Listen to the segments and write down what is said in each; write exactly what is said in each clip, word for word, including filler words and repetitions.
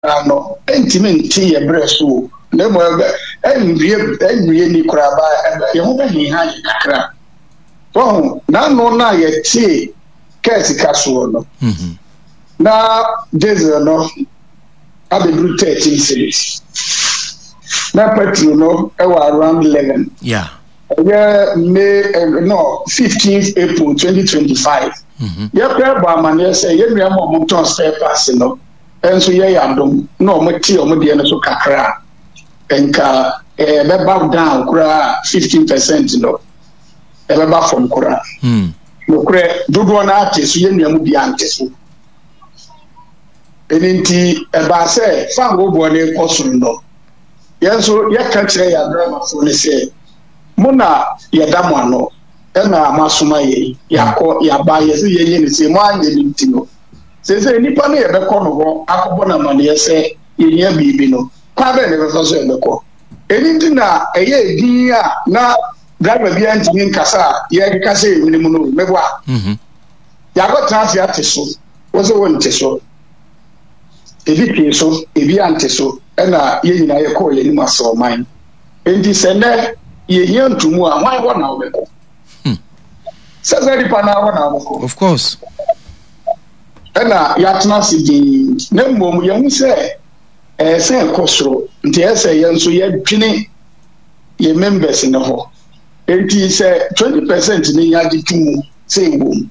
koraa no, ɛntumi nte yɛ berɛ so o. Na mmom ɛbɛ ɛnwie ɛnwie ni koraa ba ɛbɛ yɛn ho bɛheha yɛ kakra. Wɔho n'ano no a yɛtee kaa sika soɔ no, Mhm. na diesel no abɛduru thirteen cedis, na petrol no ɛwɔ around eleven. Yeah. Ɛyɛ May eh, no, fifteenth April twenty twenty-five. Mhm. Yɛpɛ bɔ amanneɛ sɛ yɛn nua ma ɔmo tɔn spare parts no nso yɛyɛ adom na ɔmo te ɔmo deɛ no so kakra a, nka ɛbɛba down koraa fifteen percent no, ɛbɛba fam koraa. Mm. Nokorɛ, dodoɔ no ate so, yɛn nua mu bi ante so. Ɛno nti ɛbaa sɛ fango boɔ no kɔ soro no, yɛn nso yɛka kyerɛ yɛn adramafoɔ no sɛ mo na yɛda mo ano ɛna mo asoma yɛn, yɛakɔ yɛaba, yɛsɛ yɛnyɛ ne sɛ mo anyɛ ne nti no, sɛ nipa no yɛbɛkɔ no hɔ akɔbɔ no amanneɛ sɛ yɛhia biribi no, kwan bɛn na ɛbɛfa so yɛbɛkɔ? Ɛno nti na ɛyɛ edin a na driver biara ntumi nkasa a yɛkeka sɛ yɛhwene mu no mɛboa. Mhm. Yɛakɔtena ase ate so, wo sɛ wonte so, ebi tee so, ebi ante so, ɛna yɛn nyinaa yɛkɔɔ yɛn anim asɛ ɔman. Nti sɛ nnɛ yɛhia ntomu a, hwan hɔ na wobɛkɔ? Hmm. Sɛ sɛ nipa no hɔ na wobɛkɔ. Of course. Ɛna yɛatena ase dinn, na mmom yɛhu sɛ ɛyɛ sɛ ɛkɔ soro, nti ɛyɛ sɛ yɛn nso yɛdwene yɛn members no hɔ. Nti sɛ twenty percent ne yɛagye to mu sɛ ɛwɔ mu,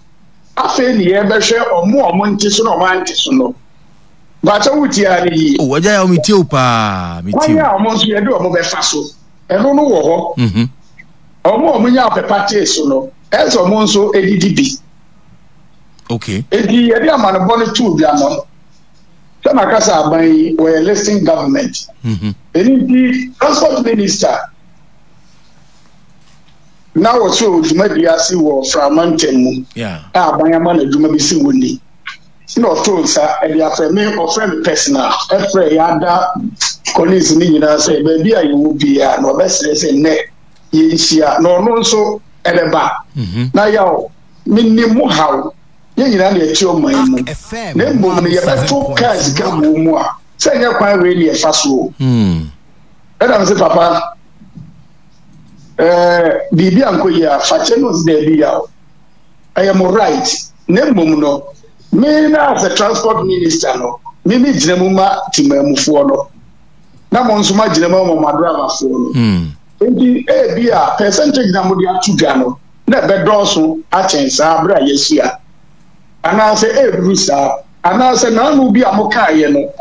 afei ne yɛbɛhwɛ ɔmo a ɔmo nte so na ɔmo ante so no. Bàtɛ, wotie a ne yie. Oh, agya yɛ, metie wo paa, metie. Kwan a ɔmo nso yɛde ɔmo bɛfa so, ɛno no wɔ hɔ. Mhm. Ɔmo a ɔmo nya apɛpa tee so no, ɛsɛ ɔmo nso edidi bi. Okay. Eti yɛde amanebɔ no too dwa no, sɛ maka sɛ aban yi wɔyɛ listening government. Mhm. Ɛno nti Transport Minister na wɔsɛ dwumadi ase wɔ frama ntɛm mu Yeah. a aban ama no adwuma bi si wɔ ni, na ɔtoo nsa ɛde afrɛ me, ɔfrɛ me personal, ɛfrɛ yɛada colleagues ne nyinaa sɛ baabi a yɛwɔ biara na ɔbɛsrɛ sɛ nnɛ yɛnhyia na ɔno nso ɛbɛba. Mhm. Na yaw menim mo haw, yɛn nyinaa na yɛte ɔman mu, na mmom no yɛbɛto kaa sika wɔ mu a, sɛ nyɛ kwan wei ne yɛfa so o. Mm. Ɛna me sɛ, papa, ɛɛ biribi ankɔ yie a, fakyɛ no. Ɔsi daabi, yaw, ɛyɛ mo right, na mmom no me na as a Transport Minister no, me me gyina mu ma temamufoɔ no, na mo nso ma gyina mu ma mo adramafoɔ no. Mm. Nti ebi a percentage na mo de ato dwa no na ɛbɛdɔɔso akyɛn saa abere a yɛahyia, anaasɛ ɛreduru saa, anaasɛ n'ano bi a mo kaeɛ no,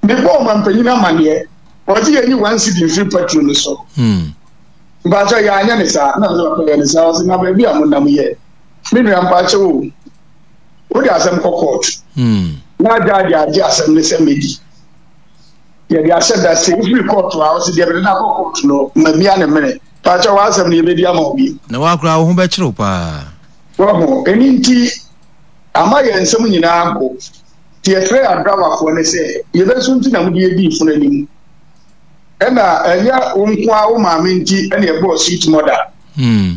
mebɔ ɔmampanyin amanneɛ, ɔgye yɛn nyi one cedi mfiri petrol no so. Mm. Mpakyɛ, yɛanyɛ ne saa na sɛ papa yɛ ne saa. Ɔsɛ na baabi a monam yɛ, me nua, mpakyɛ o, wode asɛm kɔ court Mm. na agyaagye agye asɛm ne sɛ medi yɛde ahyɛ da sɛ wofiri court a, ɔsɛ deɛ mede no akɔ court no mamia ne mene. Mpakyɛ, w'asɛm no yɛbɛdi ama wo bi. Na wakora wo ho bɛkyerɛw paa. Wɔho ɛni nti ama yɛn nsɛm nyinaa go, nti yɛfrɛ adrawafoɔ ne sɛ yɛbɛso nti na mode yɛdii funu anim, ɛna ɛnyɛ wo nko a wo maame nti ɛna ɛbɔɔ Sweet Mother. Mm.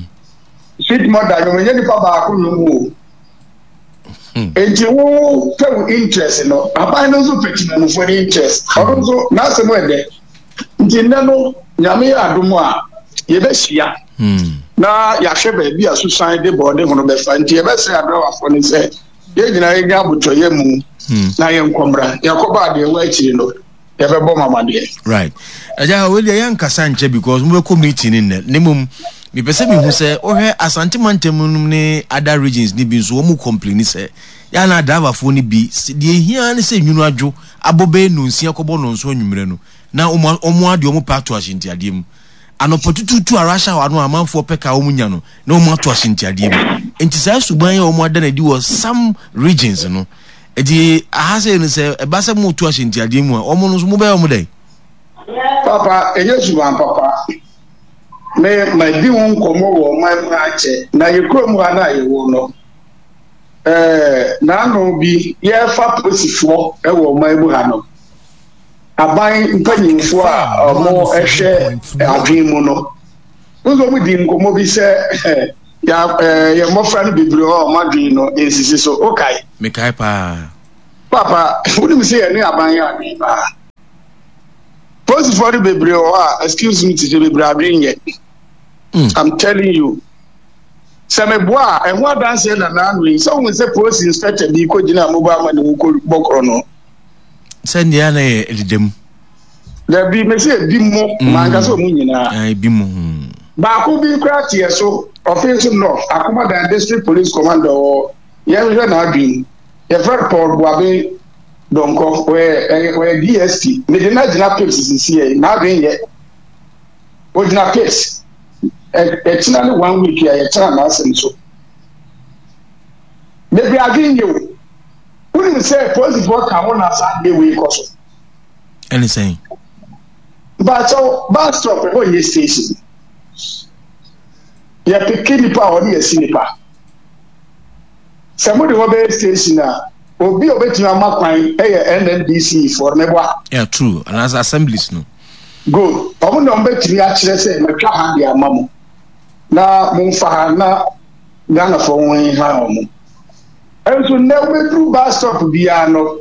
Sweet Mother nwom ɛnyɛ nipa baako nwom o. Hmm. Nti wo pɛ wo interest no, aban no nso pɛ temamufoɔ no interest, ɔno nso n'asɛm ɛdɛ. Nti nnɛ no, Nyame yɛ adom a, yɛbɛhyia Mm. na yɛahwɛ baabi a susan de bɔɔde ho no bɛfa. Nti yɛbɛsrɛ adrawafoɔ no sɛ yɛn nyinaa yɛnya abotɔyɛ mu Mm. na yɛnkɔmmra, yɛkɔba adeɛ wɔ akyiri no, yɛbɛbɔ mamadeɛ. Right, agya, wei deɛ yɛnkasa nkyɛ because mobɛkɔ meeting no nnɛ. Ne mmom mepɛ sɛ mehu sɛ wohwɛ Asante mantam nom ne other regions ne bi nso, wɔn mu complain sɛ yɛana driverfoɔ no bi s- deɛ ehia ne sɛ nwunu adwo abɔ bɛyɛ nonsia kɔbɔ nonso anwummerɛ no, na wɔn wɔn adeɛ wɔn pɛ ato ahyɛntiadeɛ mu anɔpa tututu a rush hour no a amanfoɔ pɛ kaa wɔn nya no, na wɔn ato ahyɛntiadeɛ mu. Nti saa suban yɛ wɔn ada no adi wɔ some regions no. Nti aha sɛ no, sɛ ɛba sɛ mo to ahyɛntiadeɛ mu a, wɔn no nso mobɛyɛ wɔn dɛn? Papa, ɛnyɛ suban papa. Me madi ho nkɔmmɔ wɔ ɔman mu akyɛ, na yɛ kurom ha no a yɛwɔ no, ɛɛ n'ano bi yɛfa polisifoɔ wɔ ɔman mu ha no, aban mpanyinfoɔ a wɔhwɛ adwene mu no nso wɔn di nkɔmmɔ bi sɛ yɛ ɛɛ yɛ mmɔfra no bebree hɔ a wɔn adwene no nsisi so. Okae? Mekae paa. Papa, wonim sɛ yɛne aban yɛ adwene paa. Polisifoɔ no bebree wɔ hɔ a, excuse me, tete bebree adwene nyɛ. Mm. I'm telling you. Sɛ meboa a, ɛho adanseɛ na n'ano yi. Sɛ wohu sɛ polisi inspector bi kɔgyina mobile money ho kɔ bɔkorɔ no. Sɛnea na yɛ ɛdeda mu. Dabi, mesi ebi mu, Mm. manka sɛ ɔmu nyinaa. Ah, ebi mu. Mm. Baako bi koraa teɛ so, Ɔfin so North, Akomadan District Police Commander wɔ yɛnhwehwɛ n'adwene. Yɛfrɛ no Paul Buabe Dɔnkɔ, ɔyɛ ɛyɛ ɔyɛ D S P. Mede no agyina pips sisi yɛ, n'adwene yɛ. Ogyina pips. Ɛ ɛkyina ne one week a yɛtena n'asɛm so. Bebree adwene yɛ o. Wonim sɛ polisifoɔ ka ho na saa adeɛ wei kɔ so. Ɛne sɛn? Mpakyɛw, bus stop ɛhɔ nyɛ station. Yɛpick nipa a ɔne yɛsi nipa. Sɛ mode hɔ bɛyɛ station a, obi a obetumi ama kwan ɛyɛ N N D C foɔ no mɛboa. Yeah, true. Anaasɛ assemblies no. Good. Ɔmo na ɔmo bɛtumi akyerɛ sɛ matwa ha de ama mo. Na momfa ha na Ghanafoɔ ho ha ɔmo. Nso nnɛ wobɛduru bus stop biara no,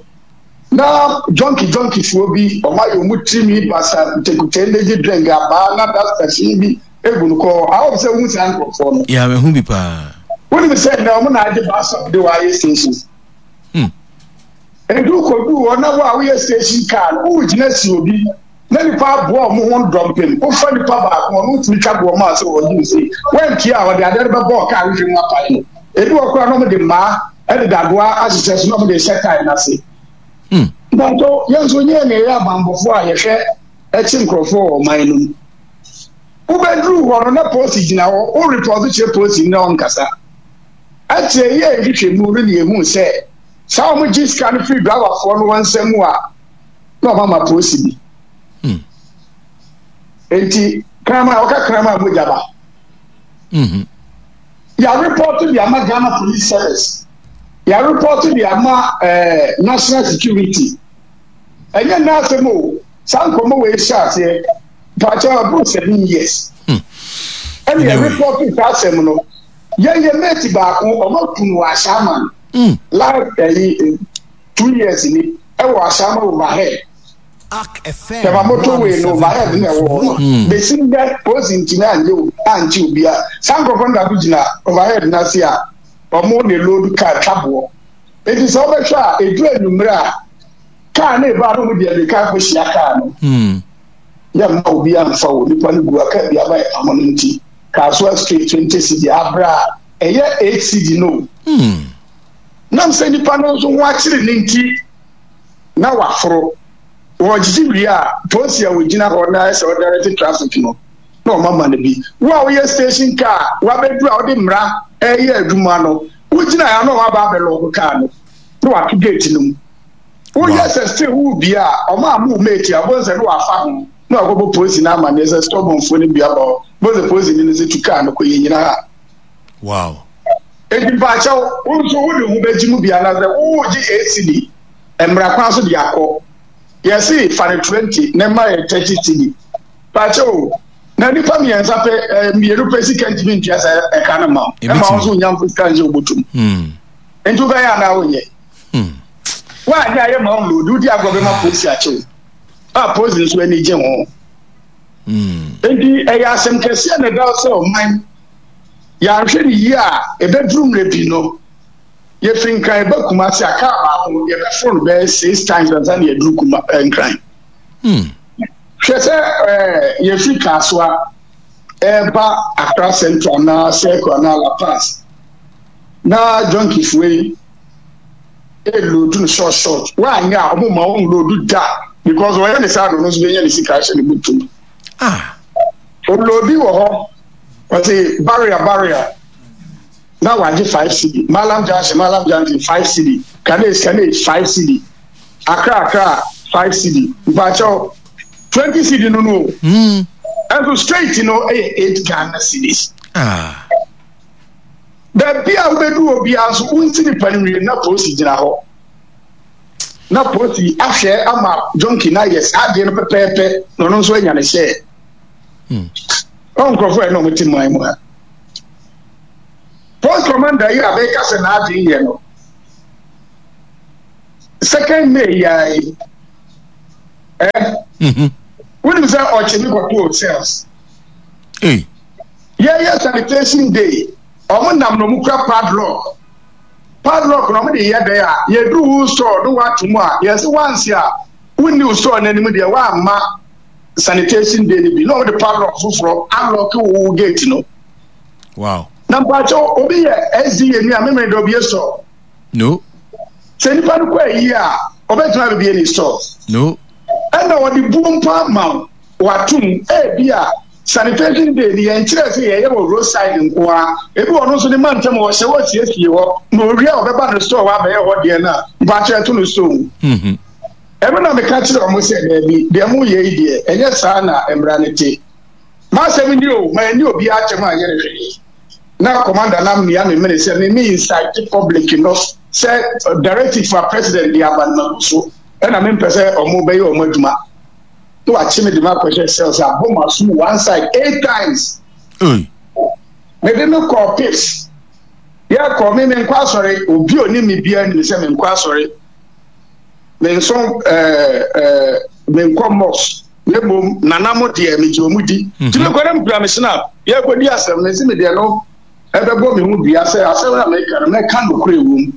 na junkie junkiefoɔ bi ɔmo ayɛ ɔmo tirinwi basa, ntekute, energy drink abaa na duster fi bi egu no kɔɔ awɔ sɛ wohu saa nkurɔfoɔ no. Yeah, mehu bi paa. Wonim sɛ nnɛ ɔmo na agye bus stop de wɔayɛ station. Hmm. Edu kodu hɔ na wo a woyɛ station car no, wogyina si obi na nipa aboa ɔmo ho dɔmpem, wofa nipa baako, ɔno wotumi twa boɔ mu a sɛ ɔgye wo sei wantua a, ɔde adeɛ no bɛbɔ kaa hwehwɛ mu apae no. Ebi wɔ koraa na ɔmo de mmaa ɛde dadoa ahyehyɛ so na ɔmo de hyɛ kaa n'ase. Hmm. Mpatɔ, yɛn nso nyɛ nea ɛyɛ abanbɔfoɔ a yɛhwɛ ɛkye nkurɔfoɔ wɔ ɔman no mu. Wobɛduru hɔ no na polisi gyina hɔ, wo report kyerɛ polisi na ɔnkasa. Akyerɛ yɛ nhwehwɛmu no ne yɛhu sɛ saa wɔn gye sika no firi driverfoɔ no wɔn nsam a, na ɔma ma polisi bi. Hmm. Nti kraman a ɔka kraman a mogya ba. Mhm. Yà report de ama Ghana Police Service, yà report de ama ɛɛ National Security. Ɛnyɛ n'asɛm o, saa nkɔmɔ wɔ ehyɛ aseɛ pàtó aburo seven years. Hmm. Ɛna yà Anyway. report saa asɛm no, yɛn yɛ mate baako, ɔmo kun wɔ Ahyɛaman Mm. last ɛyi two years ni, ɛwɔ Ahyɛaman overhead. Ark F M. Tɛma motorway no overhead na ɛwɔ hɔ no. Hmm. Besi ndɛ polisi ntumi anyɛ obi ankye obi a saa nkurɔfoɔ no dako gyina overhead n'ase a ɔmo ne load car twa boɔ. Eti sɛ ɔbɛhwɛ a, edu enumere a, car ne ba no mo de ɛmirika akɔhyia car no. Hmm. Yɛ mma obi amfa wo nipa no gu aka bi aba yɛ pamo no. Nti Kasoa straight twenty cedi abira a ɛyɛ eight cedi no. Hmm. Nam sɛ nipa no nso ho akyere ne nti na waforo wɔgyegye wie a, polisi a wɔgyina hɔ na ɛsɛ ɔdirect traffic no na ɔma ma no bi. Wo a woyɛ station car wabɛduru a wode mmara ɛyɛ adwuma no, wogyina ya na ɔma aba abɛlock car no na wato gate no mu. Woyɛ Wow. sɛ still wo bi a ɔma ama wo mate a bɔn sɛ ne wafa ho na wakɔbɔ polisi no amanneɛ sɛ stubbornfoɔ no bi aba hɔ. Bɔn sɛ polisi no sɛ tu car no kɔ, yɛ nyina ha. Wow. Eti mpaakyɛw, wo nso wode ho bɛgye mu bi anaasɛ wowogye eight cedi mmara kwan so de akɔ, yɛse fa no twenty na mma yɛ thirty cedi. Mpaakyɛw, na nipa mmiɛnsa pɛ, ɛɛ mmienu pɛ sika ntumi ntua sɛ ɛka no ma wo, ɛma wo nso nya mfo sika nhyɛ wobotum. Hmm. Nti wobɛyɛ anaa wonyɛ? Hmm. Woanyɛ a, yɛ ma wo load, wodi agorɔ bɛma polisi akyew a, polisi nso ani gye ho. Hmm. Nti ɛyɛ asɛm kɛseɛ na ɛda sɛ ɔman yɛahwɛ ne yie a, ɛbɛduru mmerɛ bi no, yɛfiri Nkran ɛba Kumase a, kaa baako yɛbɛforo no bɛyɛ six times ansa na yɛduru Kuma eh, Nkran. Hmm. Hwɛ sɛ ɛɛ yɛfiri Kasoa ɛɛba Accra Central anaa Circle anaa Lapaz na junkiefoɔ yi ɛload no short short. Woanyɛ a, ɔmo ma wɔn load da because wɔyɛ ne saa no, ɔno nso bɛnya ne sika ahyɛ ne butum. Ah. Ɔload wɔ hɔ, ɔte barrier barrier na wagye five cedi, Malam Junction, Malam Junction five cedi, Kanes Kanes five cedi, Accra Accra five cedi. Mpakyɛw, twenty cedi no no o. Hmm. Ɛnso straight no yɛ eight Ghana cedis. Ah. Baabi a wobɛdu obiara nso, wonsi nipa no wie na polisi gyina hɔ na polisi ahwɛ ama junkie na ayɛ saa adeɛ no pɛpɛɛpɛ na ɔno nso anya ne hyɛ. Hmm. Ɔn nkurɔfoɔ yɛ na ɔmo te man mu ha. Post commander yi a bɛka sɛ n'adwene yɛ no, second May yaa yi ɛ Mhm. Wonim sɛ ɔkye me kɔtoo cells. Hey. Yɛyɛ sanitation day, ɔmo nam na ɔmo kura padlock. Padlock na ɔmo de yɛ dɛn a, yɛduru wo store no wato mu a, yɛsɛ once a wonni wo store n'anim deɛ, woamma sanitation day no bi na ɔmo de padlock foforɔ alock wo gate no. Wow. Na mpakyɛw, obi yɛ S D A ni a memere de obie store? No. Sɛ nipa no kɔ ayi a, ɔbɛtumi abɛbie ne store? No. Ɛna ɔde buo mpo ama wo watom. Ebi a sanitation day ni, yɛn kyerɛ sɛ yɛyɛ wɔ roadside nko ara. Ebi wɔ no nso ne mantam wɔhyɛ wɔ siesie hɔ na owie a, ɔbɛba ne store hɔ abɛyɛ hɔ deɛ no a, mpakyɛ ɛto no store mu. Mhm. Ɛno na meka kyerɛ ɔmo sɛ daabi, deɛ mo yɛ yi deɛ, ɛnyɛ saa na mmara no te. M'asɛm ni o, ma ɛni obi atɛm a nyɛ ne hwee. Na commander na mmea me mene sɛ me me incite public no sɛ directive a president de aba no magu so, ɛna mempɛ sɛ ɔmo bɛyɛ ɔmo adwuma na wakye me de ma akɔhyɛ cells abɔ ma so one side eight times. Hey. Mede no kɔɔ pips, yɛkɔ me menkɔ asɔre. Obi a onim me biara nim sɛ menkɔ asɔre, menso ɛɛ ɛɛ menkɔ mosque, na mmom nana mo deɛ, megye ɔmo di. Nti mekɔ na mekura me snap, yɛkɔdi asɛm no nsi me deɛ no ɛbɛbɔ me ho dua sɛ asɛm na meka no, mɛka nokorɛ wɔ mu.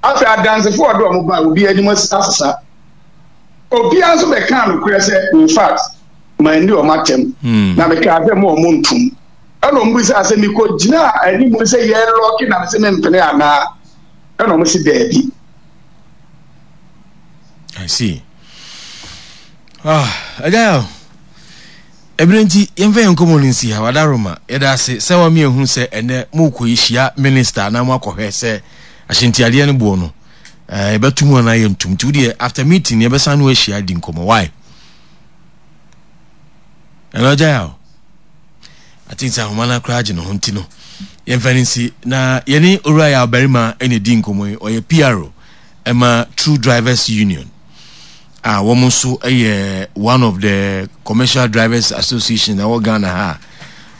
Afei adansefoɔ a ɔde ɔmo ba, obi anim asesa, obiara nso bɛka nokorɛ sɛ in fact manni ɔmo atɛm. Mm. Na mekaa sɛ mo ɔmo ntom, ɛna ɔmo bisa sɛ mekɔ gyina anim sɛ yɛlock na mesɛ mempene anaa, ɛna ɔmo si daabi. I see. Ah, agya, ebere nti yɛmfa yɛn nkɔmmɔ no nsi ha. Wadaroma, yɛda ase sɛ wame ehu sɛ ɛnɛ mokɔ yɛhyia minister na moakɔhwɛ sɛ ahyɛntiadeɛ no boɔ no ɛɛ yɛbɛto mu anaa yɛntum. Nti wodeɛ, after meeting yɛbɛsan no ahyia di nkɔmmɔ. Why ɛno agya yɛ o? I think sɛ ahoma no akora agye ne ho, nti no yɛmfa no nsi na yɛne owura yɛ ɔbarima ɛna di nkɔmmɔ yi. Ɔyɛ P R O ɛma True Drivers Union a wɔn nso yɛ one of the commercial drivers association ɛwɔ Ghana ha.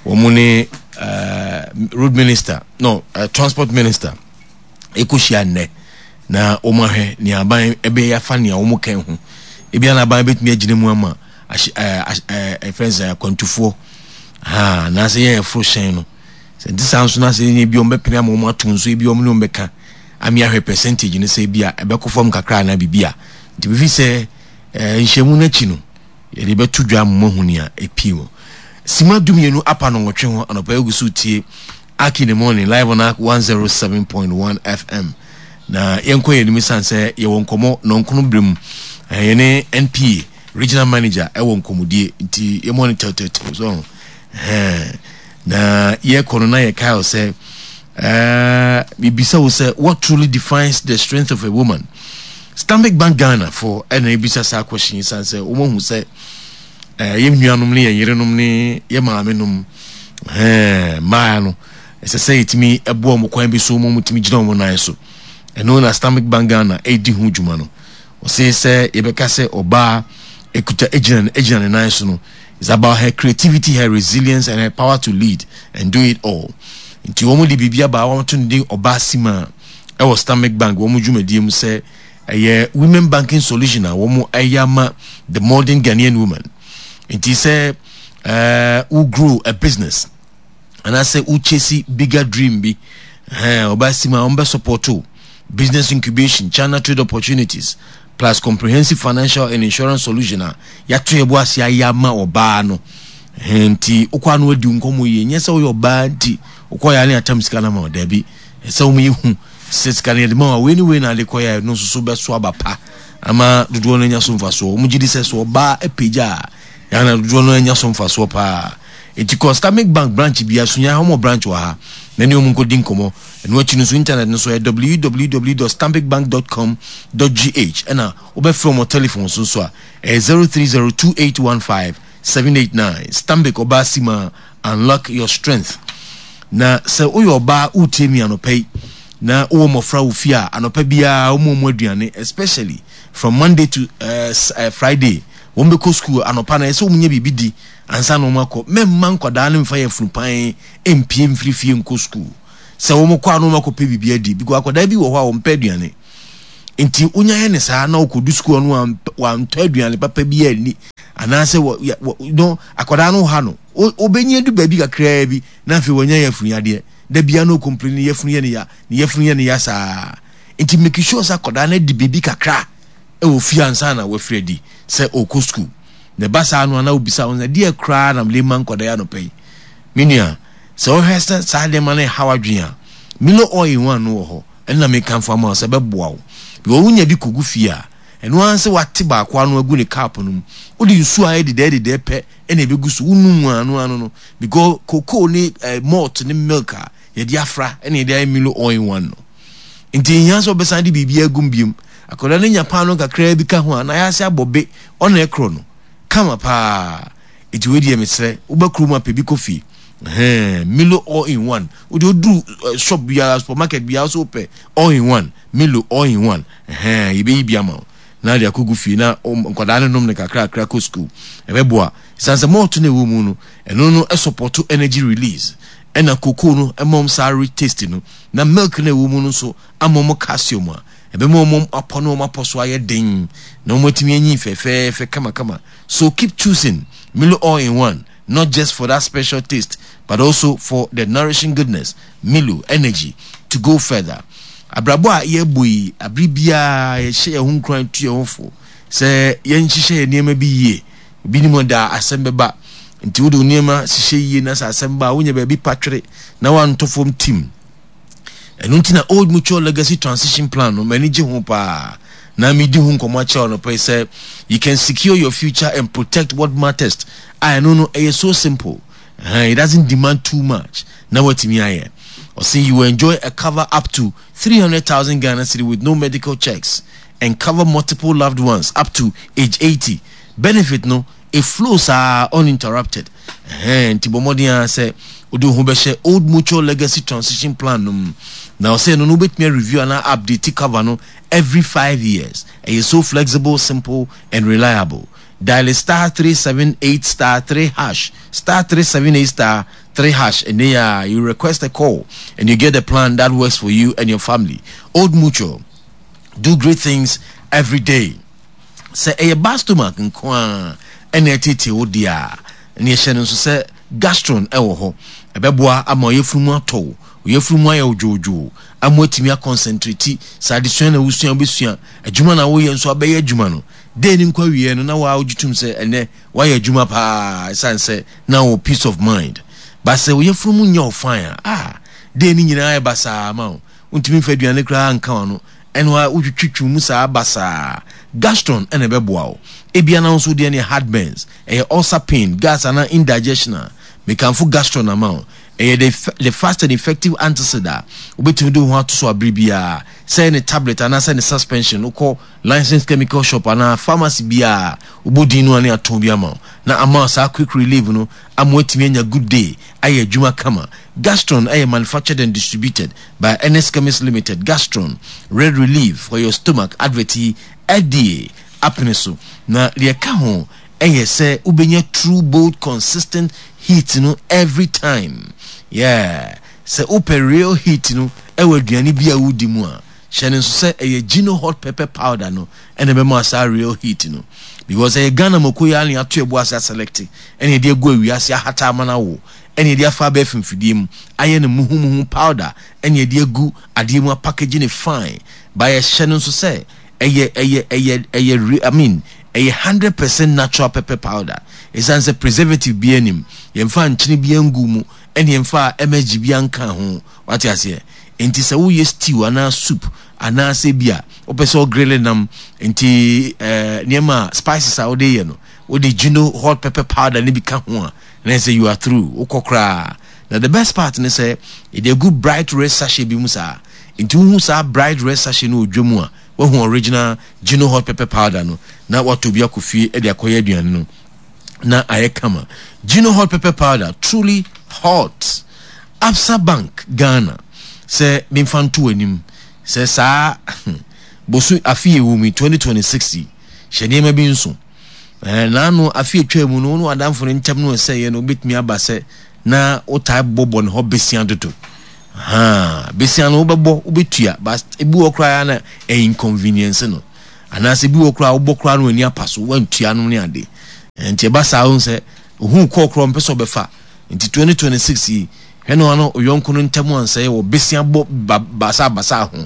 Wɔn ne uh, road minister no, uh, transport minister ɛkɔhyia nnɛ na wɔn ahwɛ nea aban ɛbɛyɛ afa nea wɔn kɛn ho. Ebi ana aban bɛtumi agyina mu ama ahyɛ ɛɛ ɛɛ ɛfɛn sɛ akwantufoɔ ha anaasɛ yɛn ɛforo hyɛn no sɛ nti saa nso na sɛ yɛn ebi wɔn bɛpene ama wɔn ato nso, ebi wɔn ne wɔn bɛka ami ahwɛ percentage no sɛ ebi a ɛbɛkɔ fam kakra anaa biribi a. Nti bifi sɛ ɛɛ nhyiamu n'akyi no, yɛde bɛto dwa ama ahu nea epie mu. Sima dumienu apa no nwɔtwe ho anɔpa, egu so tie Ark in the Morning live on Ark one zero seven point one F M. Na yɛnkɔ yɛn anim san sɛ yɛwɔ nkɔmɔ nɔnkono berɛ mu. ɛɛ yɛne N P A regional manager ɛwɔ nkɔmɔdie, nti yɛmɔ no tɛwtɛwtɛw so ɛɛ na yɛkɔ no na yɛkae sɛ ɛɛ bibisa wo sɛ, what truly defines the strength of a woman? Stanbic Bank Ghana for ɛna ebisa saa question yi san sɛ wɔn ahu sɛ ɛɛ yɛn nuanom ne yɛn yerenom ne yɛn maame nom, ɛɛ mmaa no, ɛsɛ sɛ yɛtumi ɛboa wɔn kwan bi so wɔn tumi gyina wɔn nan so. Ɛno na Stanbic Bank Ghana ɛredi ho dwuma no. Ɔsɛ sɛ yɛbɛka sɛ ɔbaa ekuta egyina egyina ne nan so no is about her creativity, her resilience and her power to lead and do it all. Nti wɔn de biribi aba a wɔn to ne din Ɔbaa Sima ɛwɔ Stanbic Bank wɔn dwumadie mu sɛ ɛyɛ women banking solution a wɔn ɛyɛ ama the modern Ghanaian woman. Nti sɛ ɛɛ wo grow a business anaasɛ wo chase bigger dream bi, ɛhɛn, Ɔbaa Sima wɔn bɛ support o business incubation, channel trade opportunities, plus comprehensive financial and insurance solution a yɛato yɛbo ase ayɛ ama ɔbaa no. Ɛhɛn, nti wokɔ ano adi nkɔmmɔ yie. Nyɛ sɛ woyɛ ɔbaa nti wokɔ yɛ ne atam sika no ma wo. Daabi, ɛsɛ wɔn yɛ hu sɛ sika no yɛde ma wa, wei ne wei na ade kɔ yɛ no nso so bɛso aba pa ama dodoɔ no anya so mfasoɔ. Wɔn gye di sɛ so ɔbaa apagya a yɛn dodoɔ no anya so mfasoɔ paa. Nti kɔ Stanbic Bank branch bi asunya ha, wɔn branch wɔ ha, na ne wɔn nkɔdi nkɔmmɔ. Ɛno akyi no nso, internet no so yɛ w w w dot stanbicbank dot com dot g h, ɛna wobɛfrɛ wɔn telephone so nso a ɛyɛ zero three zero two eight one five seven eight nine. Stanbic, Ɔbaa Sima, unlock your strength. Na sɛ woyɛ ɔbaa wotie mi anɔpa yi na wowɔ mmɔfra wɔ fie a, anɔpa biara wɔn wɔn aduane, especially from Monday to uh, uh, Friday, wɔn bɛkɔ school anɔpa na ɛsɛ wɔn nyɛ biribi di ansa na wɔn akɔ. Mɛmma nkwadaa no mfa yɛ funupan mpie mfiri fie nkɔ school. Sɛ wɔn kɔ ano wɔn akɔpɛ biribi adi, because akwadaa bi wɔ hɔ a wɔn pɛ aduane. Nti wonya yɛ ne saa na wɔkɔdu school no, wantɔ aduane papa bi ani. Anaasɛ wɔ wɔ no akwadaa no ha no, wobɛnyɛ du baabi kakraa bi na afei wɔnya yɛfunu yadeɛ. Da bia no complain, ne yɛfunu yɛ ne ya, ne yɛfunu yɛ ne ya saa. Nti make sure sɛ akwadaa no adi biribi kakra ɛwɔ fie ansa na wafiri adi sɛ ɔkɔ school. Na ɛba saa no ana wobisa wo sɛ, deɛ koraa na mede ma nkwadaa yi anɔpa yi? Me nua, sɛ wohwɛ sɛ saa nneɛma no ɛhaw adwene a, Milo all in one no wɔ hɔ. Ɛno na mekamfo ama wo sɛ ɛbɛboa wo, because wonya bi kɔgu fie a, ɛno ara sɛ wate baako ano agu ne cup no mu, wode nsuo a ɛyɛ dedɛɛ dedɛɛ pɛ ɛna ɛbɛgu so, wonum ano ano no, because cocoa ne eh, malt ne milk a yɛde afra ɛna yɛde ayɛ Milo all in one no. Nti nhia sɛ wobɛsan de biribi agum biom. Akwadaa no nya paano kakraa bi ka ho a, na ayɛ ase abɔ be, ɔna ɛkorɔ no kama paa. Nti wei deɛ, mesrɛ, woba kurom a, pɛ bi kɔ fie. Milo all in one, wode woduru eh, shop biara, supermarket biara so, wopɛ all in one, Milo all in one, yɛbɛyi bi ama wo na de akɔgu fie na nkwadaa no nom no kakrakra kɔ school. Ɛbɛboa ɛsiane sɛ malt no ɛwɔ mu no, ɛno no ɛsupport energy release, ɛna cocoa no ɛma saa rich taste no, na milk no ɛwɔ mu no nso ama ɔmo calcium a ɛbɛma ɔmo apɔ no, ɔmo apɔ so ayɛ den na ɔmo atumi anyi fɛfɛɛfɛ kamakama. So keep choosing Milo all in one, not just for that special taste but also for the nourishing goodness. Milo, energy to go further. Abrabɔ a yɛbɔ yi, abere biara yɛhyɛ yɛn ho nkuran, tu yɛn ho fo sɛ yɛnhyehyɛ yɛn nneɛma bi yie. Obi nim da asɛm bɛba, nti wode wo nneɛma hyehyɛ yie na sɛ asɛm ba a, wonya baabi patwere na woantɔ fam tim. Ɛno nti na Old Mutual Legacy Transition Plan no, m'ani gye ho paa na medi ho nkɔmmɔ akyerɛ no pɛ sɛ you can secure your future and protect what matters. A ɛno no ɛyɛ so simple, uh, it doesn't demand too much na watumi ayɛ. Ɔsɛ you will enjoy a cover up to three hundred thousand Ghana cedi with no medical checks and cover multiple loved ones up to age eighty. Benefit no, it flows are uninterrupted. Nti bɔ mmɔden a sɛ wode wo ho bɛhyɛ Old Mutual Legacy Transition Plan no mu. Na ɔsɛ no no wobɛtumi review anaa update cover no every five years. Ɛyɛ so flexible, simple and reliable. Dial star three seven eight star three hash, star three seven eight star three hash, and then uh, you request a call and you get a plan that works for you and your family. Old Mutual, do great things every day. Sɛ ɛyɛ bad stomach nko a ɛna ɛtete wo deɛ a, ɛne ɛhyɛ no nso sɛ Gastron ɛwɔ hɔ. Ɛbɛboa ama ɔyɛfunu mu atɔ wo, ɔyɛfunu mu ayɛ odwoodwoo ama watumi aconcentrate. Sɛ adesua na wosua, wobɛsua. Adwuma na woyɛ nso, abɛyɛ adwuma no den ne nkɔ awie no na waa wogye tom sɛ ɛnɛ wayɛ adwuma paa, ɛsiane sɛ na wɔ peace of mind. Ba sɛ ɔyɛfunu mu nyɛ wo fine a, ah, den ne nyinaa yɛ basaa ma wo, wontumi mfa aduane koraa nka wa no, ɛno a wotwitwitwi mu saa basaa. Gastron ɛna ɛbɛboa wo. Ebia na nso deɛ ne heartburns, ɛyɛ ulcer pain, gas anaa indigestion a, mekamfo Gastron ama wo. Ɛyɛ the, the fast and effective antacid a wobɛtumi de wo ho ato so abere biara, sɛ ne tablet anaasɛ ne suspension. Wokɔ licensed chemical shop anaa pharmacy biara, wobɔ din no ane atɔn bi ama wo na ama saa quick relief no ama watumi anya good day ayɛ adwuma kama. Gastron ɛyɛ manufactured and distributed by N S Chemist Limited. Gastron, red relief for your stomach. Advert yi, F D A apene so. Na deɛ ɛka ho ɛyɛ sɛ wobɛnya true, bold, consistent heat no every time. Yeah, sɛ wopɛ real heat no ɛwɔ aduane bi a wodi mu a, hyɛ no nso sɛ ɛyɛ Gino Hot Pepper Powder no ɛna ɛbɛma saa real heat no, because ɛyɛ Ghana mako yi a ne ato ɛbo ase aselect, ɛna yɛde agu awiase ahata ama no awo, ɛna yɛde afa abɛɛ fimfidie mu ayɛ no muhumuhu powder, ɛna yɛde agu adeɛ mu apackage ne fine. Ba yɛhyɛ no nso sɛ ɛyɛ ɛyɛ ɛyɛ ɛyɛ I mean, ɛyɛ hundred percent natural pepper powder, ɛsiane sɛ preservative bi anim, yɛmfa nkyene bi angu mu, ɛne yɛmfa M S G bi anka ho. Wate aseɛ? Nti sɛ woyɛ stew anaa soup anaasɛ bi a wopɛ sɛ ɔgrille nam, nti ɛɛ nneɛma a spices a wode yɛ no, wode Gino Hot Pepper Powder ne bi ka ho a, na sɛ you are through, wokɔ koraa. Na the best part ne sɛ yɛde agu bright red sachet bi mu saa. Nti wohu saa bright red sachet no wɔ dwa mu a, wahu original Gino Hot Pepper Powder no na watɔ bi akɔ fie de akɔyɛ aduane no na ayɛ kama. Gino Hot Pepper Powder, truly hot. Absa Bank Ghana sɛ memfa nto anim sɛ saa boso afe yɛ wɔ mu twenty twenty-six yi, hyɛ nneɛma bi nso. ɛɛ naano afe atwa mu no, wo ne w'adamfo no nkyɛm no ɛsɛ yɛ no, wobɛtumi aba sɛ na wotae bɔbɔ ne hɔ besia dodo haa. Besia no wobɛbɔ, wobɛtua, but ebi wɔ koraa na ɛyɛ inconvenience no, anaasɛ ebi wɔ koraa wobɔ koraa no, w'ani apa so wantua no ne ade. Nti ɛba saa wohu sɛ ohuu kɔɔ korɔ ɔmpɛ sɛ ɔbɛfa. Nti twenty twenty six yi hwɛ ne ɔno ɔyɔnko no ntam ansɛe wɔ besia bɔ ba basaa basaa ho.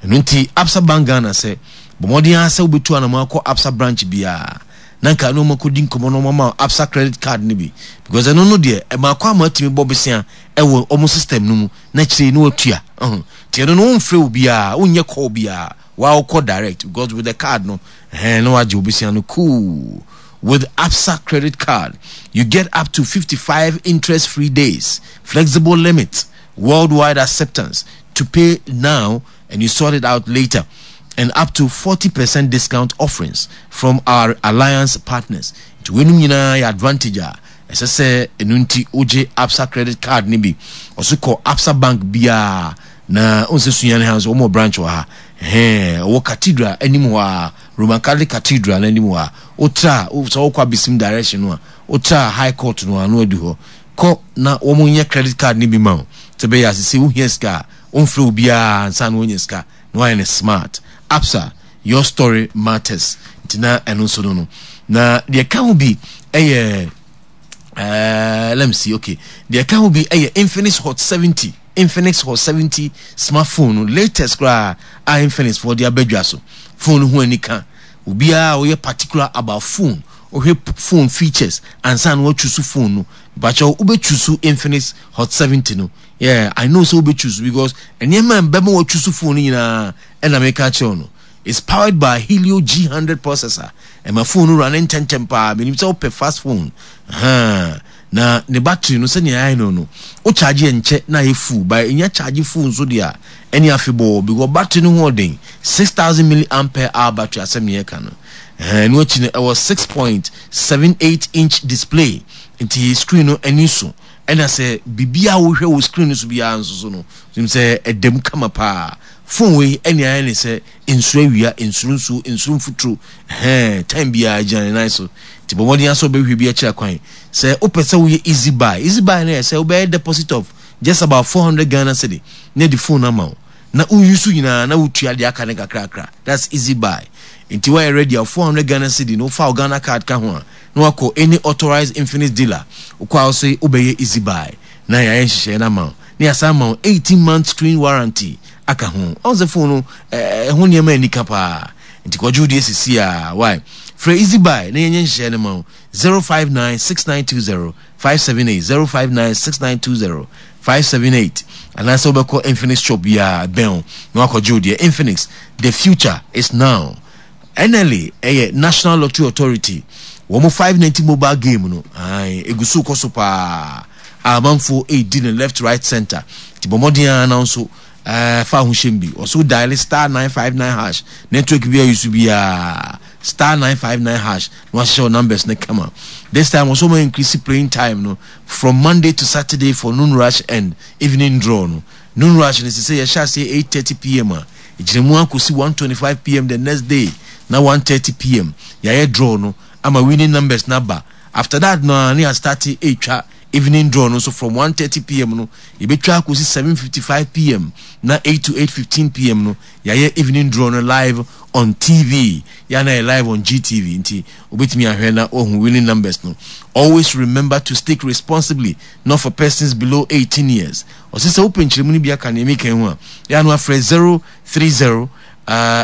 Ɛno nti Absa Bank Ghana sɛ bɔ mmɔden ara sɛ wobɛtu anamɔ akɔ Absa branch biara na nka ne wɔn akɔdi nkɔmmɔ na wɔn ama Absa credit card no bi because ɛno no deɛ ɛma akɔ ama atumi bɔ besia ɛwɔ wɔn system no mu na akyire yi na watua. Ɔho nti ɛno no womfrɛ obiara, wonyɛ call biara, waa wokɔ direct because with the card no ɛhɛn na wagye wo besia no cool. With Absa credit card, you get up to fifty five interest free days, flexible limit, worldwide acceptance to pay now and you sort it out later, and up to forty percent discount offerings from our alliance partners. Nti weinom nyinaa yɛ advantage a ɛsɛ sɛ ɛno nti wogye Absa credit card no bi. Ɔso kɔ Absa bank biara na ɔnsɛ Sunyani ha nso wɔn wɔ branch wɔ ha. Ɛhɛn, ɔwɔ cathedral anim hɔ a, Roman Catholic Cathedral no anim hɔ a, wotra sɛ wokɔ Abesim direction no a, wotra High Court no a na wadu hɔ. Kɔ na wɔn nyɛ credit card no bi ma wo. Sɛ bɛyɛ a sese wohia sika a, womfrɛ obiara ansa na woanya sika na woayɛ no smart. Absa, your story matters. Nti na ɛno nso no no. Na deɛ ɛka ho bi ɛyɛ uh, let me see, okay. Deɛ ɛka ho bi ɛyɛ Infinix Hot seventy. Infinix Hot seventy smartphone no latest koraa a Infinix foɔ de aba dwa so. Phone no ho anika. Obiara a ɔyɛ particular about phone, ɔhwɛ phone features ansa na wachusu phone no. Bakyɛw wobɛchusu Infinix Hot seventy no. Yeah, I know sɛ wobɛchusu because nneɛma a ɛbɛma wachusu phone no nyinaa ɛna meka akyerɛ wo no. It's powered by Helio G hundred processor. Ɛma phone no run ntɛntɛm paa. Menim sɛ wopɛ fast phone. Ahaa. Na ne battery no sɛnea ayɛ no no, wo charge yɛ nkyɛ na ayɛ full. But ɛnya charge full nso deɛ a, ɛne afebɔɔ because battery no ho ɔden. six thousand milliampere hour battery asɛm ne yɛka no. Ɛhɛn, ɛno akyi no ɛwɔ six point seven eight inch display. Nti screen no ani so. Ɛna sɛ biribiara a wohwɛ wɔ screen no so biara nso so no, wonim sɛ ɛda mu kama paa. Phone wei ɛne ayɛ ne sɛ nsuro awia, nsuro nsuo, nsuro mfuturo, ɛhɛn, time biara gyina ne nan so. Nti bɔ mmɔden ara sɛ wobɛhwehwɛ bi akyira kwan. Sɛ wopɛ sɛ woyɛ easy buy, easy buy no yɛ sɛ wobɛyɛ deposit of just about four hundred Ghana cedi na yɛde phone no ama wo. Na wo use nyinaa na wotua deɛ aka no kakrakra. That's easy buy. Nti woayɛ ready a, four hundred Ghana cedi no wofa wo Ghana card ka ho a, na wakɔ any authorized Infinix dealer. Wokɔ a wose wobɛyɛ easy buy na yɛayɛ nhyehyɛeɛ no ama wo. Na yɛasan ama wo eighteen month screen warranty aka ho. Wahu sɛ phone no ɛho nneɛma anika paa. Nti kɔgye wo deɛ sisi a. Why? Frɛ easy buy na yɛnyɛ nhyehyɛeɛ no ma wo. zero five nine six nine two zero five seven eight zero five nine six nine two zero five seven eight anaasɛ wobɛkɔ Infinix shop biara ɛbɛn wo na wakɔgye wo deɛ. Infinix, the future is now. N L A ɛyɛ National Lottery Authority wɔn five ninety mobile game no ae egu so kɔ so paa a amanfoɔ redi no left right center nti bɔ mmɔden ara na nso ɛɛ fa ho hyɛm bi ɔso dial star nine five nine hash network bi a yusu biara star nine five nine hash na wahyehyɛ wo numbers no kama. This time ɔso wɔn increase playing time no from Monday to Saturday for noon rush and evening draw no. Noon rush no sese yɛhyɛ aseɛ eight thirty pm a egyina mu akɔsi one twenty five pm the next day na one thirty pm yɛayɛ draw no ama winning numbers no aba. After that no ara na yɛastarte retwa evening draw no nso from one thirty pm no yɛbɛtwa akɔsi seven fifty five pm na eight to eight fifteen pm no yɛayɛ evening draw no live on T V yɛ a na yɛ live on G T V nti wobɛtumi ahwɛ na woahu winning numbers no. Always remember to stake responsibly, not for persons below eighteen years. Ɔse sɛ wopɛ nkyerɛmu no bi aka nea meka yi ho a, yɛ a na wafrɛ zero three zero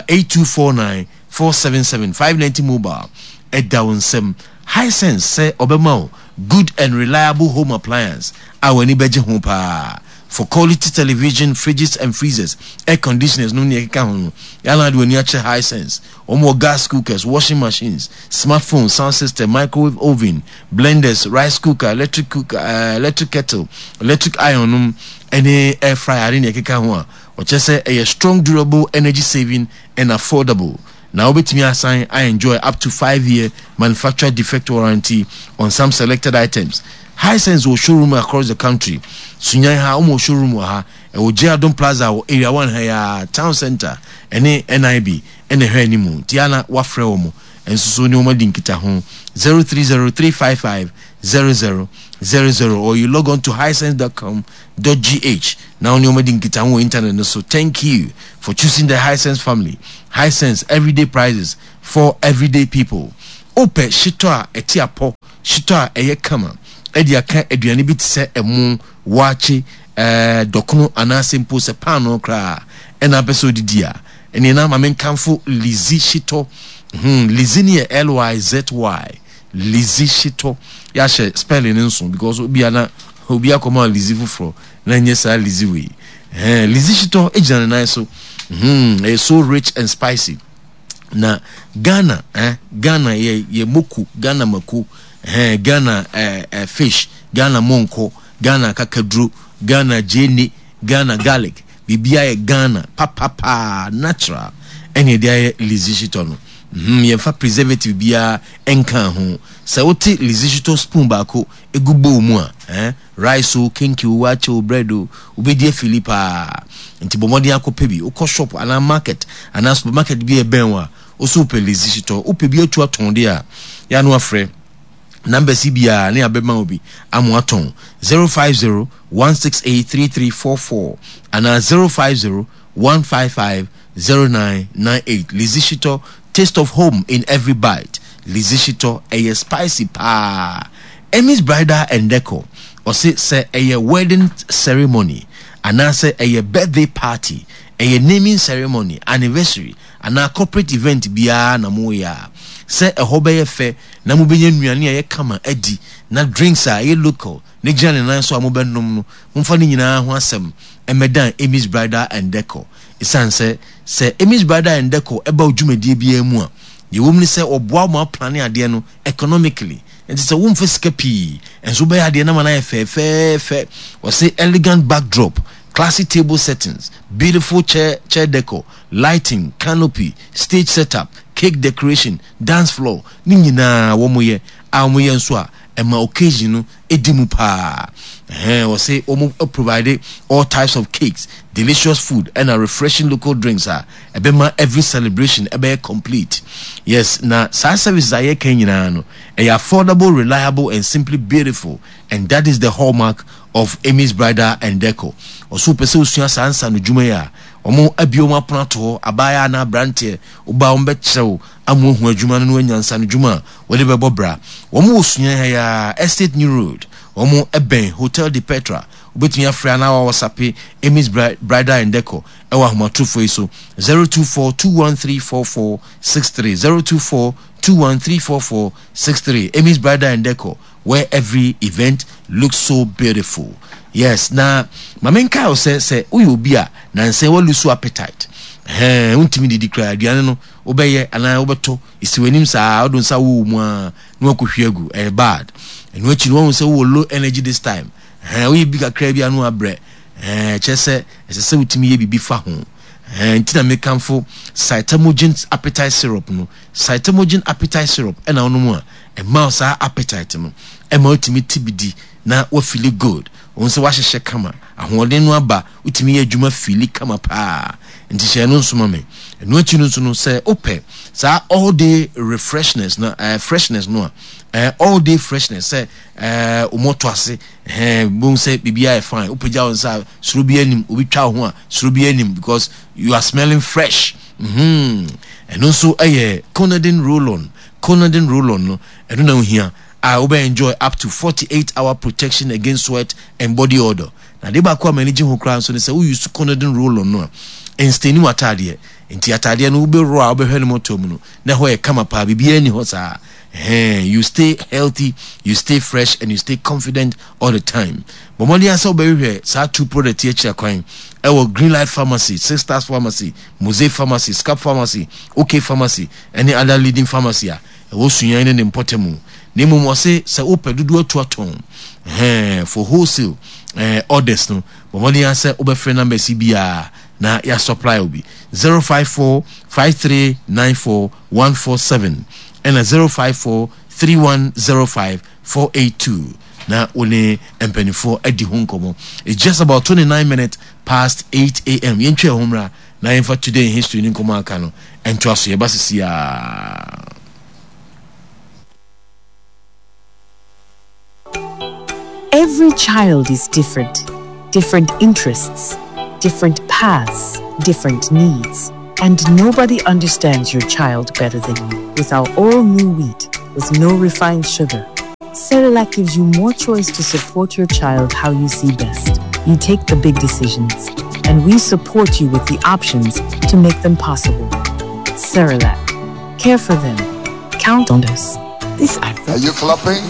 eight two four nine four seven seven five ninety mobile ɛda wo nsam. Hisense sɛ ɔbɛma wo good and reliable home appliance a w'ani bɛgye ho paa. For quality television, fridges and freezers, air conditioners nom nea ɛkeka ho no, yɛ a na wode w'ani akyerɛ Hisense. Wɔn wɔ gas cookers, washing machines, smartphone, sound system, microwave oven, blenders, rice cooker, electric cooker, uh, electric kettle, electric iron nom, ɛne air fryer ne nea ɛkeka ho a ɔkyerɛ sɛ ɛyɛ strong, durable, energy saving and affordable. Na wobɛtumi asan a enjoy up to five year manufacturer defect warranty on some selected items. Hisense wɔ showroom across the country. Sunyan ha, wɔn wɔ showroom wɔ ha. Ɛwɔ J Adom Plaza wɔ Area one ha yi ara, Town Centre ɛne N I B ɛna ɛhwɛ anim. Nti a na wafrɛ wɔn nso so ne wɔn adi nkitaho zero three zero three five five zero zero zero zero or you log on to hisense dot com dot g h na wo ne wɔn adi nkitaho wɔ internet no so. Thank you for choosing the Hisense family. Hisense, everyday prices for everyday people. Wopɛ hyetɔ a ɛte apɔ, hyetɔ a ɛyɛ kama de aka aduane bi te sɛ ɛmo, waakye, ɛɛ, dɔkono anaasɛ mpo sɛ paanoo koraa ɛna apɛ sɛ odidi a, ɛneɛ na ma menkamfo Lizzy hyetɔ. Hmm, Lizzy no yɛ L Y Z Y. Lizzy hyetɔ. Yɛahyɛ spelling no nso because obi ana obi akɔma Lizzy foforɔ na nyɛ saa Lizzy wei. Ɛhɛn, Lizzy hyetɔ gyina ne nan so. Hmm, ɛyɛ so rich and spicy. Na Ghana, eh, Ghana yɛ yɛ moko, Ghana mako, eh, Ghana eh, eh, fish, Ghana monko, Ghana kakaduro, Ghana gyeene, Ghana garlic, biribiara yɛ Ghana papapaa, natural ɛne ɛde ayɛ Lizzy hyetɔ no. mm, yɛmfa preservative biara nka ho. Sɛ wote Lizzy hyetɔ spoon baako egu bowl mu a, eh, rice o, kenkey o, waakye o, bread o, wobɛdi afili paa. Nti bɔ mmɔden akɔpɛ bi. Wokɔ shop anaa market anaa supermarket bi a ɛbɛn wo a, wo so wopɛ Lizzy hyetɔ, wopɛ bi atu atɔn deɛ a, yɛ ano afrɛ numbers yi biara ne abɛma wo bi ama atɔn: zero five zero one six eight three three four four anaa zero five zero one five five zero nine nine eight. Lizzy hyetɔ, taste of home in every bite. Lizzy hyetɔ ɛyɛ spicy paa. Emmy's Bridal and Decor ɔse sɛ ɛyɛ wedding ceremony anaasɛ ɛyɛ birthday party, ɛyɛ naming ceremony, anniversary anaa corporate event biara na moyɛ a, sɛ ɛhɔ bɛyɛ fɛ na mobɛnya nnuane a ɛyɛ kama adi na drinks a ɛyɛ local ne gyina ne nan so a mobɛnom no, momfa ne nyinaa ho asɛm ɛmɛdan Emmy's Bridal and Decor, ɛsiane sɛ sɛ Emmy's Bridal and Decor ɛba wo dwumadie biara mu a, deɛ ɛwɔ mu ne sɛ ɔboa wo ma aplan adeɛ no economically, nti sɛ womfa sika pii ɛnso wobɛyɛ adeɛ no ma no ayɛ fɛɛfɛɛfɛ. Ɔse elegant backdrop, classy table settings, beautiful chair chair decor, lighting, canopy, stage setup, cake decoration, dance floor ne nyinaa wɔn yɛ a wɔn yɛ nso a ɛma occasion no edi mu paa. Ɛhɛn, wɔse wɔn provide all types of cakes, delicious food ɛna refreshing local drinks a ɛbɛma every celebration ɛbɛyɛ complete. Yes, na saa services a yɛka nyinaa no ɛyɛ affordable, reliable and simply beautiful, and that is the hallmark of Amy's Bridal and Decor. Ɔso pɛ sɛ osua saa nsa no dwuma yi a, wɔn abie wɔn apono ato hɔ. Abaayewa anaa aberanteɛ ɔbaa, wɔn bɛkyerɛ wo ama ohu adwuma no na wanya nsa no dwuma a wɔde bɛbɔ bra. Wɔn wɔ sua ha ya, Estate New Road, wɔn bɛn Hotel de Petra. Wobɛtumi afrɛ anaa wa WhatsApp Amy's Bridal and Decor ɛwɔ ahomatorofo yi so: zero two four two one three four four six three, zero two four two one three four four six three. Amy's Bridal and Decor, where every event looks so beautiful. Yes, na maame nkae wo sɛ sɛ woyɛ obi a nansɛn wa lose appetite, ɛhɛn, wontumi didi koraa, aduane no wobɛyɛ anaa wobɛtɔ esi w'anim saa, wode nsa wɔ mu a na wakɔhwie agu, ɛyɛ bad. Ɛno akyi no, wahu sɛ wowɔ low energy this time, ɛhɛn, woyɛ bi kakra bi ano abrɛ, ɛhɛn, kyerɛ sɛ ɛsɛ sɛ wotumi yɛ biribi fa ho. Ɛhɛn, nti na mekamfo Cytamogen appetite syrup no. Cytamogen appetite syrup ɛna wonom a, ɛma wo saa appetite no, ɛma wotumi ti bi di na wa feel good, wɔn sɛ wahyehyɛ kama, ahoɔden no aba, wotumi yɛ adwuma feel kama paa. Nti hyɛ no nso ma me. Ɛno akyi no nso no, sɛ wopɛ saa all day refreshness na uh, freshness no a, uh, all day freshness sɛ uh, wɔn ase ɛhɛn bohu sɛ biribiara yɛ fine, wopagya wo nsa a soro bi anim, obi twa wo ho a soro bi anim because you are smelling fresh. mm-hmm. Ɛno nso ɛyɛ Conadin roll-on. Conadin roll-on no, ɛno na ohia a wobɛ enjoy up to forty-eight hour protection against sweat and body odor. Na de baako a m'ani gye ho koraa nso ne sɛ wo use Conadin roll-on no a, ɛn stain w'ataadeɛ, nti ataadeɛ no wobɛworɔ a, wobɛhwɛ no mɔtɔ mu no na ɛhɔ yɛ kama paa, biribiara ni hɔ saa. Hey, you stay healthy, you stay fresh and you stay confident all the time. Bɔ mmɔden asɛ wobɛhwehwɛ saa two product yi akyira kwan ɛwɔ Green Light Pharmacy, Six Stars Pharmacy, Mose Pharmacy, Scap Pharmacy, OK Pharmacy ɛne other leading pharmacy a ɛwɔ Sunyani ne ne mpɔtam mu. Na mmom ɔse sɛ wopɛ dodoɔ atu atɔn, ɛhɛn, for wholesale eh, orders no, bɔ mmɔden asɛ wobɛfrɛ numbers yi biara na yɛ supply obi: zero five four five three nine four one four seven ɛna zero five four three one zero five four eight two na wo ne mpanimfoɔ adi ho nkɔmmɔ. It's just about twenty-nine minutes past eight a m. Yɛntwa ɛho mmra na yɛmfa today in history ne nkɔmmɔ aka no ɛntoa so. Yɛba sisi a. Every child is different. Different interests, different paths, different needs. And nobody understands your child better than you. With our all new wheat, with no refined sugar. Cerelac gives you more choice to support your child how you see best. You take the big decisions, and we support you with the options to make them possible. Cerelac. Care for them. Count on us. This advert. Are you clapping?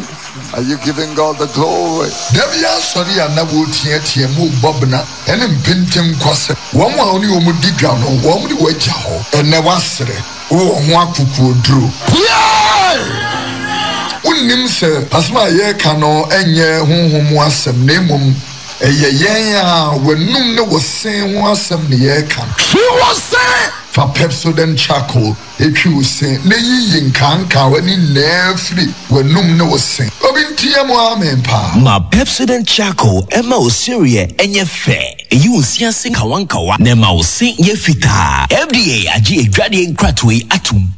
Are you giving God the glory? Da bi asɔre a na wɔreteatea mu rebɔ bena ne mpenten kwasɛm. Wɔn a wo ne wɔn di dwa no, wɔn de wo agya hɔ. Ɛnnɛ woasere, wowɔ ho akokoɔduro. Piae! Wonnim sɛ asɛm a yɛreka no nyɛ honhom mu asɛm, na mmom ɛyɛ yɛn a w'anum ne wo se ho asɛm na yɛreka no. Twi wo se! Fa Pepsodent Charcoal Twi wo se na yiyi nkaankawa no nyinaa firi w'anum ne wo se. Obi nteɛ mu amen paa. Ma Pepsodent Charcoal mma wo sereɛ nyɛ fɛ, ɛyi wo se ase nkawankawa na ɛma wo se yɛ fitaa. F D A agye adwadeɛ nkratoɔ yi atom.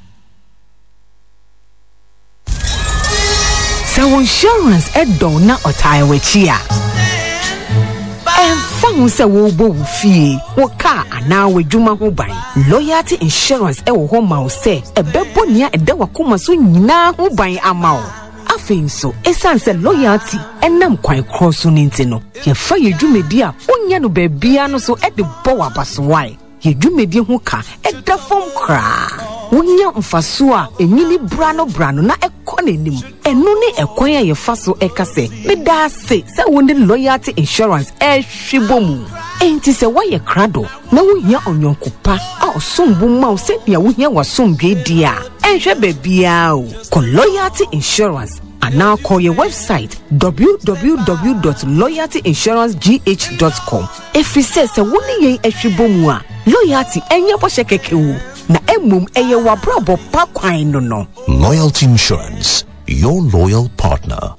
Sɛ wo insurance dɔ wo na ɔtaa w'akyi a, ɛmfa ho sɛ worebɔ wo fie, wo kaa anaa w'adwuma ho ban, Loyalty Insurance wɔ hɔ ma wo sɛ ɛbɛbɔ nea ɛda w'akoma so nyinaa ho ban ama wo. Afei nso, esiane sɛ Loyalty nam kwan korɔ so no nti no, yɛfa yɛn dwumadi a wonnya no baabiara no so de bɔ wo abasowae. Yɛn dwumadi ho ka da fam koraa. Wonya mfaso a enyini branobrano na ɛkɔ n'anim. Ɛno ne ɛkwan a yɛfa so ka sɛ, Meda ase sɛ wo ne Loyalty Insurance rehwe bɔ mu. Enti sɛ woayɛ krado na wuhia ɔyɔnko pa a ɔsom bo ma wo sɛnea wuhia w'asomdwoe de a, ɛnhwɛ baabiara o, kɔ Loyalty Insurance anaa kɔ yɛn wɛbsaet w w w dot loyalty insurance g h dot com ɛfiri sɛ sɛ wo ne yɛn ahwi bɔ mu a, Loyalty ɛnyɛ bɔhyɛ kɛkɛ o, na mmom ɛyɛ w'abrabɔ pa kwan no no. Loyalty Insurance, your loyal partner.